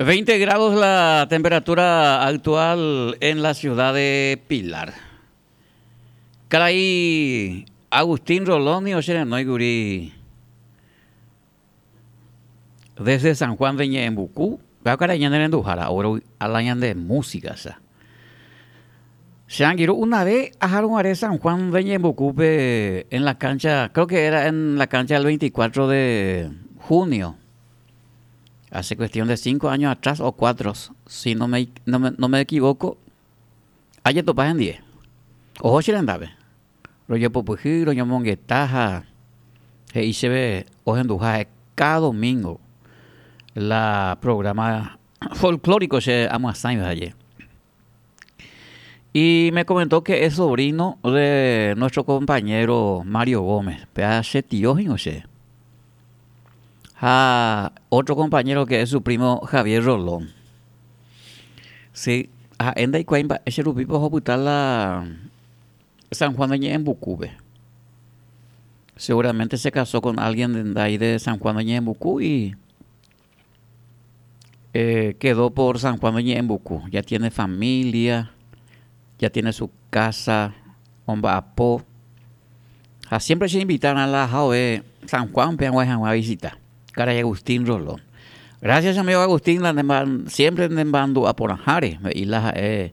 20 grados la temperatura actual en la ciudad de Pilar. Karai Agustín Rolón ni ocherenói kuri desde San Juan de Ñe'ẽmbuku, upéva karai ñane renduhára oguerovy'a la ñande música cha. Che angirũ una vez aharuguare San Juan de Ñe'ẽmbukúpe en la cancha, creo que era en la cancha del 24 de junio. Hace cuestión de 5 años atrás o 4, si no me, no me, no me equivoco, ajetopa hendie. Oho che rendápe. Rojepopyhy, roñomongeta ha he'i chéve ohenduha ha'e cada domingo la programa folclórico che amyasãiva aje. Y me comentó que es sobrino de nuestro compañero Mario Gómez, péa che tio hína che. Ha otro compañero que es su primo Javier Rolón. Sí, ha'e ndaikuaái mba'e che rupípa ohopyta la San Juan de Ñe'ẽmbukúpe. Seguramente se casó con alguien de ahí de San Juan de Ñe'ẽmbuku y eh, quedó por San Juan de Ñe'ẽmbuku. Ya tiene familia, ya tiene su casa, omba'apo. Ha siempre che invitan a la jave San Juan pe ag̃uahẽ hag̃ua visita. Karai Agustín Rolón. Gracias amigo Agustín, la siempre ne mandu'a porãháre, he'i la ha'e.